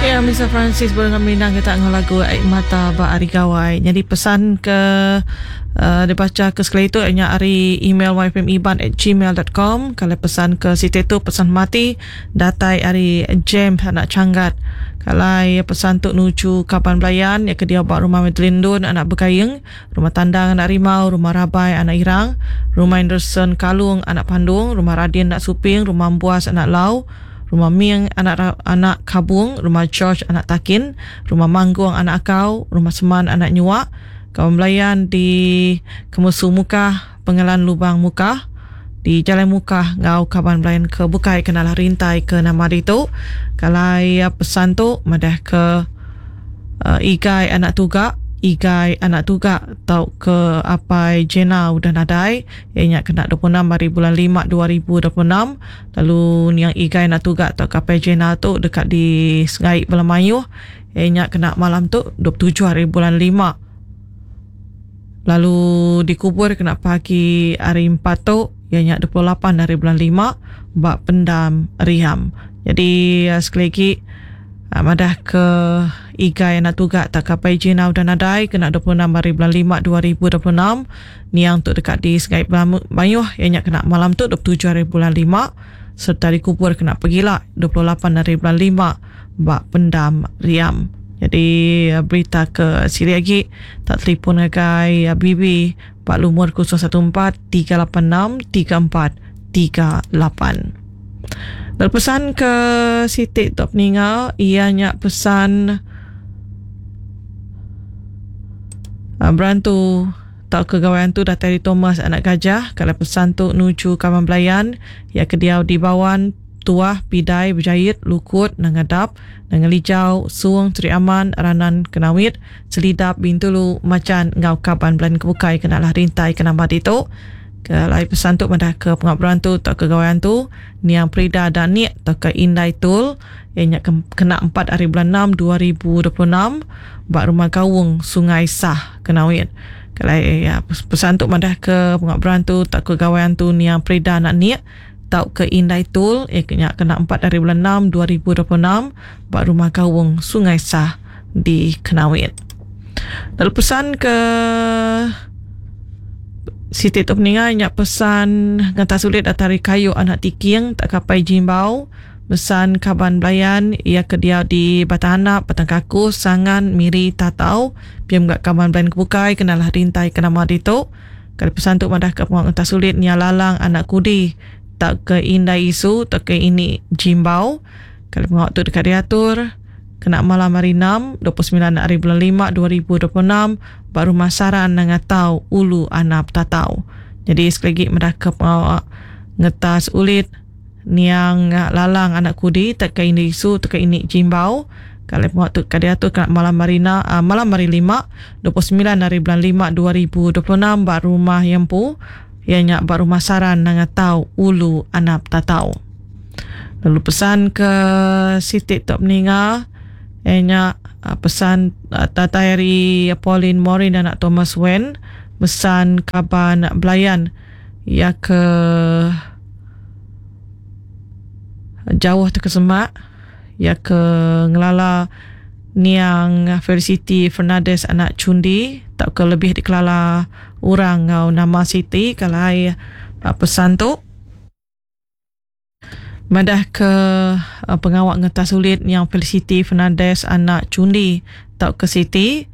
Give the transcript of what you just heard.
Ya, Mr. Francis baru merindang kita enggau lagu Ai Mata ba Hari Gawai. Jadi pesan ke dibaca ke sekali tu nya ari email yfmiban@gmail.com. Kalau pesan ke siti tu pesan mati datai ari James anak Changgat. Kalau pesan tu nuju kaban belayan ya ke dia ba rumah Madeline Dun anak Begaing, rumah Tandang anak Rimau, rumah Rabai anak Irang, rumah Anderson Kalung anak Pandung, rumah Radin anak Suping, rumah Buas anak Lau, Rumah Ming anak anak Kabung, Rumah George anak Takin, Rumah Manggung anak Akau, Rumah Seman anak Nyuak, Kaban Belayan di Kemusu Mukah, Pengelan Lubang Mukah, di Jalai Mukah enggau kaban belayan ke bukai ke nalah rintai ke nama ditu. Kalai pesan tu madah ke Igai anak Tuga, Igai anak Tuga tauka Apai Jena udah nadai iya nya kena 26 hari bulan 5 2026 lalu niang Igai anak Tuga tauka Apai Jena tu deka disengai bala mayuh iya nya kena malam tu 27 hari bulan 5 lalu dikubur kena pagi hari 4 tu iya nya 28 hari bulan 5 ba Pendam Riam. Jadi sekali lagi Madah ke Igai anak tuga tak kapai Jina udah nadai kena 26 hari bulan 5 2026. Niang tu deka di Sungai Mayuh iya nya kena malam tu 27 hari bulan 5 sereta dikubur kena pegila 28 hari bulan 5 ba Pendam Riam. Jadi berita ke silik agi tak telefon ngagai BB ba lumur 014 386 3438. Lalu pesan ke siti tu peninga iya nya pesan uh, berantu tauka gawai antu datai di Thomas anak Gajah kalau pesan tu nuju kaban belayan ya ke diau di Bawan Tuah Pidai Bejait Lukut Nangadap Nangelijau Suong Sri Aman Ranan Kenawit Selidap Bintulu Macan enggau kaban belayan ke bukai kena lah rintai ke nama ditu. Ke alai pesan tu madah ke pengawa berantu tauka gawai antu niang Prida Danik tauka Indai Tul iya nya kena 4 hari bulan 6 2026 ba Rumah Gaung Sungai Sah Kenawit. Ke alai pesan tu madah ke pengawa berantu tauka gawai antu niang Prida Danik tauka Indai Tul iya nya kena 4 hari bulan 6 2026 ba Rumah Gaung Sungai Sah di Kenawit. Lalu pesan ke siti tu peninga nya pesan ngata sulit datai ari kayu anak tiking tak kapai jimbau pesan kaban belayan iya ke diau di Batang Anap, Batang Kakus, Sangan, Miri, Tatau pia mega kaban belayan ke bukai kenalah rintai ke nama ditu. Kali pesan tu madah ke pengawa ngata sulit nya lalang anak kudi tauka indai isu tauka ini jimbau. Kali pengawa tu deka diatur Kena malam hari Enam, 29 ari bulan Lima 2026 ba Rumah Saran Nanga Tau, Ulu Anap Tatau. Nyadi sekali agi meda ke pengawa ngetas ulit niang Lalang anak Kudi tauka Indi Isu tauka Ini Jimbau ke alai pengawa tu ka diatur kena malam hari ena malam hari Lima, 29 ari bulan Lima 2026 ba rumah iya empu iya nya ba Rumah Saran Nanga Tau, Ulu Anap Tatau. Lalu pesan ke siti tu meninga iya nya pesan datai ari Pauline Morin anak Thomas Wen pesan kaban belayan iya ke jauh tauka semak iya ke ngelala niang Felicity Fernandez anak Chundi tauka lebih dikelala orang enggau nama Siti kalai pesan tu. Madah ke pengawa ngetas ulit niang Felicity Fernandez anak Chundi tauka Siti.